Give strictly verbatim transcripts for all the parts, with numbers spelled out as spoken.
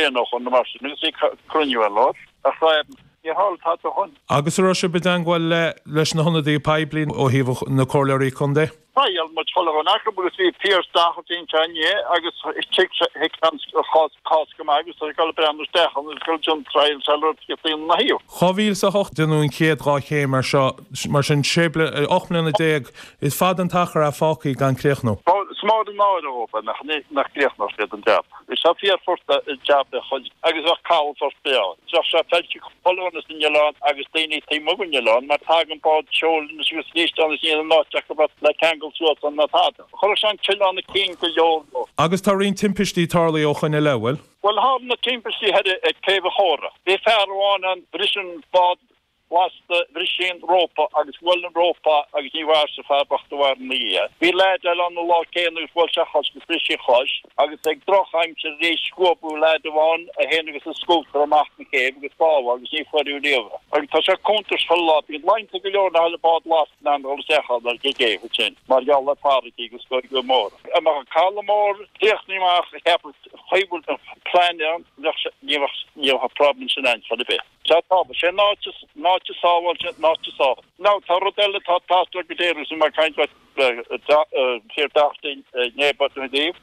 bliain ó shoin nó mar sin agus bhí cruinniú ar lár ach níor tharla tada ó shoin. Agus an raibh sibh i dteangmháil le leis na hionadaithe poiblí ó thaobh na comhairleoirí contae? Bhuel muid chuile dhuine acu agus bhí Pearse Doherty anseo inné agus thuig thuig an chás cás go maith agus tá ag dul breathnú isteach ann agus ag dul déanamh triail sula raibh ina thaobh. Dhá mhíle is a hocht déanadh an chéad dhá chéim mar seo, mar sin sé bliana, ocht mbliana déag, is fada an t-achar atá fágtha gan críochnú. Is mór an náire dhóibh nach nach gcríochnódh siad an jab. Bhí sé fíorfhurasta an jab a chuid agus bheadh calafort breá. Bheadh sé feillte chuile dhuine san oileán agus daoine taobh amuigh den oileán mar tagann bád seoil anois agus arís ann is níl an áit acu le ceangal suas ann ná tada. Chuirfeadh sé an t-oileán i gcinn go leor leo. Agus tá roinnt timpistí tarlaithe ó shoin i leith, bhfuil? Bhuel tharla na timpistí thoir ag Céibh an Chóra. Bhí fear amháin ann, bhris an bád lasta, bhris sé an rópa agus bhuail an rópa agus ní mhair an fear bocht a mhair ina dhiaidh. Bhí leaid eile ann an lá céanna agus bhuail sé a chois agus bhris sé a chois agus ag drochaimsir arís scuabadh leaid amháin é féin agus a scútar amach an chéibh agus bádh agus ní fuaireadh riamh é. Agus tá sé contúirteach chuile lá, bíonn laethanta go leor nach bhfuil bád lasta in ann dul isteach ann ar an gcéibh ansin mar gheall ar farraigí agus gaoth mór. Dá mbeadh an caladh mór críochnaithe amach a cheapadh chaoi bhfuil an plean ann bheadh sé ní bheadh ní bheadh an problem sin ann chor ar bith. Sea, tá, sé an áit is, an áit is sábháilte, an áit is sábháilte. Now, tá rud eile atá ag teastáil go géar agus mar caint le Fear Doherty inné but na díobh.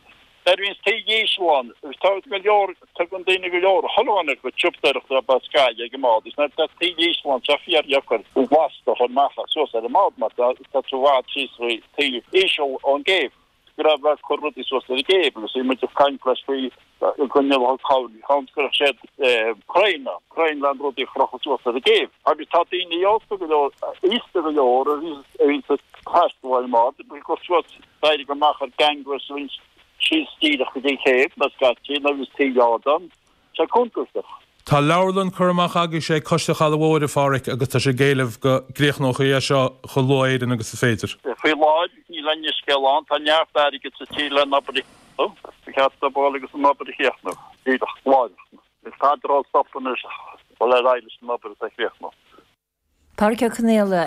Nuair a bhíonns taoille íseal ann, agus tá go leor, tugann daoine go leor, chuile dhuine go siopadóireachta ab as Gaillimh ag an mbád, agus nuair atá taoille íseal ann, tá fíordheacair an lasta a chur amach suas ar an mbád mar tá tú i bhfad síos faoi taoille íseal ón gcéibh. go raibh ag cur rudaí suas ar an gcéibh agus bhí muid ag caint leis faoi go ndéanfadh cabhair chun go gcuirfeadh siad crainn ann, crainn le rudaí a chrochadh suas ar an gcéibh. Agus tá daoine aosta go leor, aosta go leor a bhíonn ag taisteal ar an mbád, ag dul suas, d'éirigh amach ar gangway is a bhíonn síos díreach go dtí an chéibh, nó scaití, nuair a bhíonns taoille ard ann. Tá sé contúirteach. Tá leabharlann curtha amach agaibhse ag Coiste Chaladh Mhóir, a Pháraic, agus tá sibh ag éileamh go gcríochnófaí é seo chomh luath Éireann agus is féidir. Faoi láthair níl aon scéal ann, tá neart airgid sa tír le an obair a chríochnú. Ba cheart dóibh dul agus an obair a chríochnú díreach láithreach. Níl tada á stopadh anois dul ar aghaidh leis an obair is a chríochnú. Pádraic Ó Conaola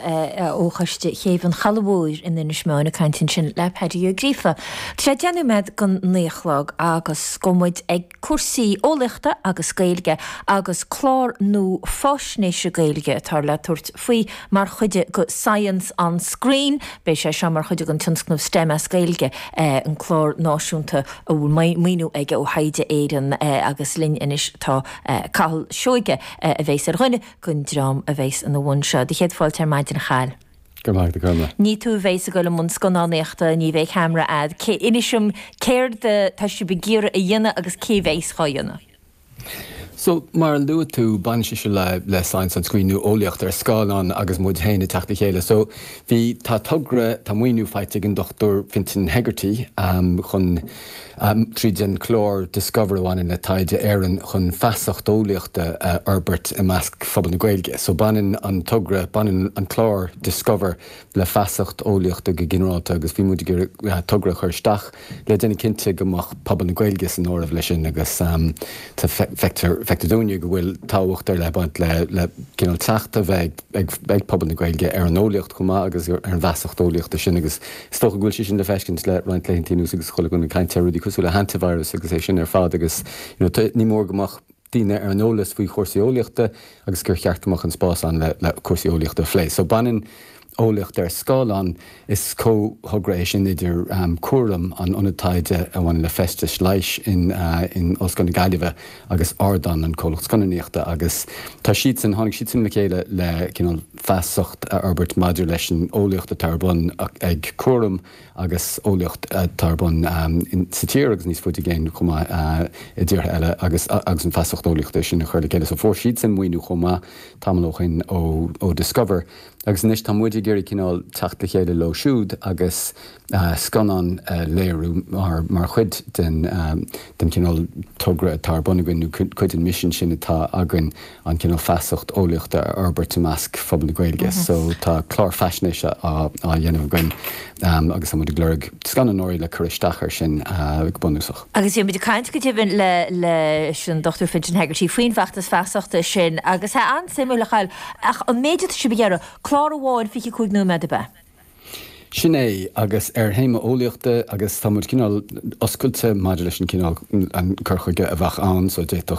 ó Choiste Chéibh an Chalaidh Mhóir in Inis Meáin ag caint ansin le Paddy Ó Gríofa. Tá sé deich nóiméad don naoi a chlog agus gabhfaidh muid ag cúrsaí eolaíochta agus Gaeilge agus clár nua fáisnéise Gaeilge atá le tabhairt faoi mar chuid de Science on Screen. Beidh sé seo mar chuid den tionscnamh STEM as Gaeilge, an clár náisiúnta a bhfuil maoiniú aige ó Thaighde Éireann agus linn anois tá Cathal Seoige a bheas ar dhuine den dream a bheas ina bhun seo. Do chéad fáilte ar maidin, a Chathail. Go raibh maith agat, a Chormac. Ní tú a bheas ag dul i mbun scannánaíochta, ní bheidh ceamara a'd. Cé, inis dom céard tá sibh ag iarraidh a dhéanamh agus cé bheas dhá dhéanamh? So, mar a luaigh tú, baineann sé seo le le Science on Screen nó eolaíocht ar scáileán agus muid féin ag teacht le chéile. So, bhí, tá togra, tá maoiniú faighte ag an Dochtúir Fintan Hegarty chun, tríd an chlár Discover a bhaineann le Taighde Éireann chun feasacht eolaíochta a fhorbairt i measc phobal na Gaeilge. So baineann an togra, baineann an clár Discover le feasacht eolaíochta go ginearálta agus bhí muid ag iarraidh togra a chur isteach le déanamh cinnte go mbeadh pobal na Gaeilge san áireamh leis sin agus tá feictear feictear dúinne go bhfuil tábhacht ar leith ag baint le le cineál teacht a bheith ag ag pobal na Gaeilge ar an eolaíocht chomh maith agus ar an bhfeasacht eolaíochta sin agus is dócha go bhfuil sé sin le feiscint le roinnt laethanta anuas agus chuile dhuine ag caint ar rudaí cosúil le hantivirus agus é sin ar fad agus you know ní mór go mbeadh daoine ar an eolas faoi chúrsaí eolaíochta agus gur cheart go mbeadh an spás ann le le cúrsaí eolaíochta a phlé. So baineann eolaíocht ar scáileán, is comhthogra é sin idir Cúram, an ionad taighde a bhaineann le feistis leighis in in Ollscoil na Gaillimhe agus Ardán, an comhlacht scannánaíochta agus tá siadsan, tháinig siadsan le chéile le cineál feasacht a fhorbairt maidir leis an eolaíocht atá ar bun ag Cúram agus eolaíocht atá ar bun sa tír agus níos faide i gcéin chomh maith i dtíortha eile agus agus an feasacht eolaíochta sin a chur le chéile. So fuair siadsan maoiniú chomh maith tamall ó shin ó ó Discover agus anois tá muid ag iarraidh cineál teacht le chéile leo siúd agus scannán a léiriú mar mar chuid den den chineál togra atá ar bun againn nó cuid den mhisean sin atá againn an cineál feasacht eolaíochta a fhorbairt i measc phobal na Gaeilge. So tá clár faisnéise á á dhéanamh againn agus tá muid ag lorg scannánóirí le cur isteach air sin go bunúsach. Agus bhí muid ag caint go deimhin le leis an Dochtúir Fintan Hegarty faoin bhfeachtas feasachta sin agus tá an-suimiúil a Chathail ach an méid atá sibh ag iarraidh, clár amháin fiche cúig nóiméad ab ea? Sin é, agus ar théama eolaíochta agus tá muid cineál oscailte maidir leis an cineál an cur chuige a bheadh ann so d'fhéadfadh